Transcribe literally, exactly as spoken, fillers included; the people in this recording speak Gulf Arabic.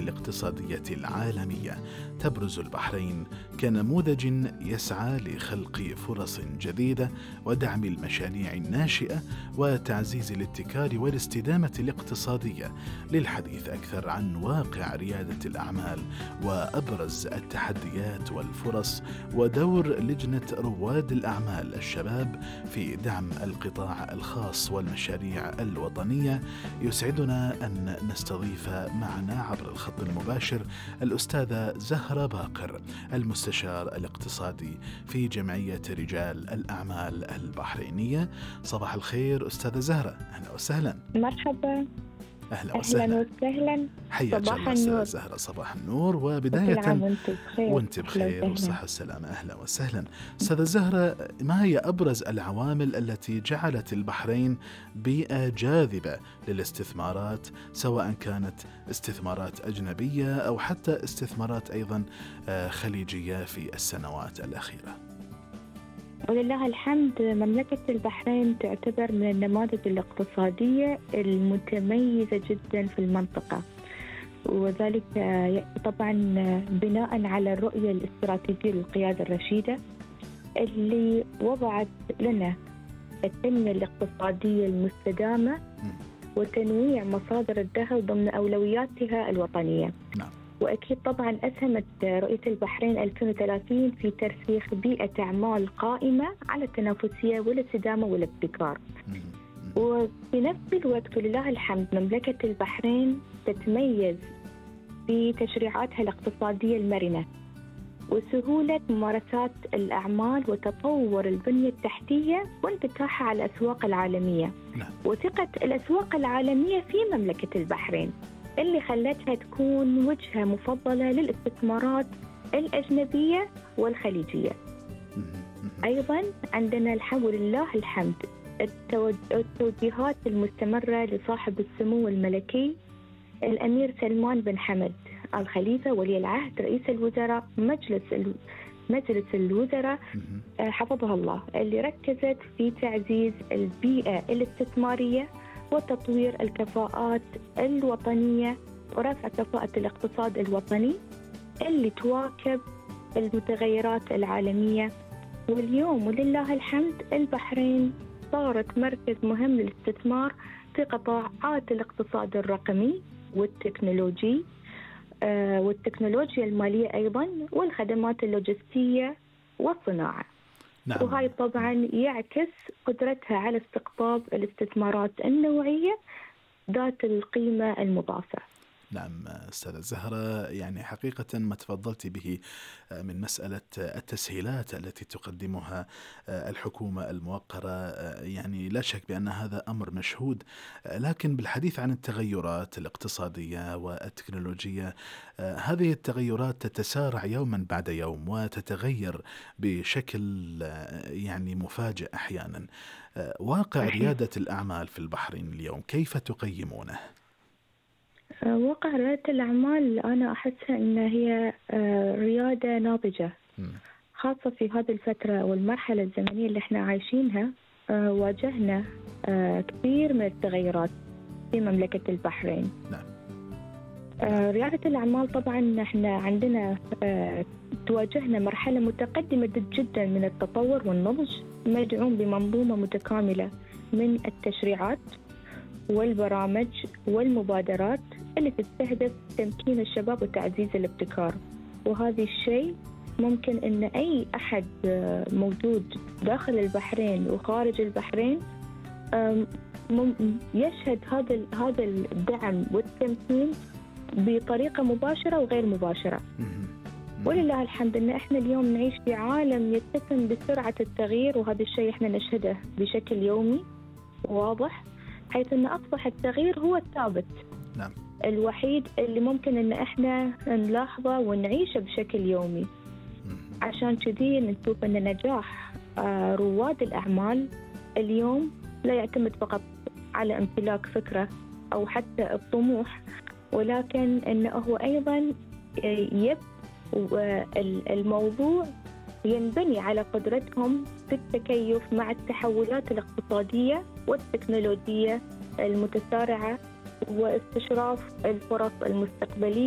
الاقتصادية العالمية. تبرز البحرين كنموذج يسعى لخلق فرص جديدة ودعم المشاريع الناشئة وتعزيز الابتكار والاستدامة الاقتصادية. للحديث أكثر عن واقع ريادة الأعمال وأبرز التحديات والفرص ودور لجنة رواد الأعمال الشباب في دعم القطاع الخاص والمشاريع الوطنية، يسعدنا أن نستضيف معنا عبر الخط المباشر الأستاذة زهرة باقر، المستشار الاقتصادي في جمعية رجال الأعمال البحرينية. صباح الخير أستاذة زهرة، أهلا وسهلا. مرحبا. أهلا وسهلا. أهلا وسهلا. حياك الله أستاذة زهرة، صباح النور. وبداية وانت بخير والصحة والسلامة. أهلا وسهلا أستاذة زهرة، ما هي أبرز العوامل التي جعلت البحرين بيئة جاذبة للاستثمارات، سواء كانت استثمارات أجنبية أو حتى استثمارات أيضا خليجية في السنوات الأخيرة؟ ولله الحمد، مملكة البحرين تعتبر من النماذج الاقتصادية المتميزة جدا في المنطقة، وذلك طبعا بناء على الرؤية الاستراتيجية للقيادة الرشيدة اللي وضعت لنا التنمية الاقتصادية المستدامة وتنويع مصادر الدخل ضمن أولوياتها الوطنية. نعم. وأكيد طبعا أسهمت رؤية البحرين ألفين وثلاثين في ترسيخ بيئة أعمال قائمة على التنافسية والاستدامة والابتكار. وفي نفس الوقت ولله الحمد مملكة البحرين تتميز بتشريعاتها الاقتصادية المرنة وسهولة ممارسات الأعمال وتطور البنية التحتية وانفتاحها على الأسواق العالمية. نعم. وثقة الأسواق العالمية في مملكة البحرين اللي خلتها تكون وجهة مفضلة للاستثمارات الأجنبية والخليجية. أيضا عندنا الحمد لله الحمد التوجيهات المستمرة لصاحب السمو الملكي الأمير سلمان بن حمد الخليفة ولي العهد رئيس الوزراء مجلس مجلس الوزراء حفظها الله، اللي ركزت في تعزيز البيئة الاستثمارية وتطوير الكفاءات الوطنية ورفع كفاءة الاقتصاد الوطني اللي تواكب المتغيرات العالمية. واليوم ولله الحمد البحرين صارت مركز مهم للاستثمار في قطاعات الاقتصاد الرقمي والتكنولوجي آه والتكنولوجيا المالية أيضا والخدمات اللوجستية والصناعة. نعم. وهاي طبعا يعكس قدرتها على استقطاب الاستثمارات النوعية ذات القيمة المضافة. نعم أستاذة زهرة، يعني حقيقة ما تفضلت به من مسألة التسهيلات التي تقدمها الحكومة الموقرة، يعني لا شك بأن هذا أمر مشهود، لكن بالحديث عن التغيرات الاقتصادية والتكنولوجية، هذه التغيرات تتسارع يوما بعد يوم وتتغير بشكل يعني مفاجئ أحيانا. واقع ريادة الأعمال في البحرين اليوم كيف تقيمونه؟ واقع ريادة الأعمال أنا أحسها أن هي ريادة ناضجة، خاصة في هذه الفترة والمرحلة الزمنية اللي احنا عايشينها. واجهنا كثير من التغيرات في مملكة البحرين. نعم. ريادة الأعمال طبعا احنا عندنا تواجهنا مرحلة متقدمة جدا من التطور والنضج، مدعوم بمنظومة متكاملة من التشريعات والبرامج والمبادرات اللي تستهدف تمكين الشباب وتعزيز الابتكار. وهذا الشيء ممكن أن أي أحد موجود داخل البحرين وخارج البحرين يشهد هذا هذا الدعم والتمكين بطريقة مباشرة وغير مباشرة. ولله الحمد أن إحنا اليوم نعيش في عالم يتسم بسرعة التغيير، وهذا الشيء إحنا نشهده بشكل يومي واضح، حيث أن أصبح التغيير هو الثابت. نعم. الوحيد اللي ممكن أن إحنا نلاحظه ونعيشه بشكل يومي. عشان كذي نشوف أن نجاح رواد الأعمال اليوم لا يعتمد فقط على امتلاك فكرة أو حتى الطموح، ولكن أنه هو أيضا يب الموضوع ينبني على قدرتهم في التكيف مع التحولات الاقتصادية والتكنولوجية المتسارعة واستشراف الفرص المستقبلية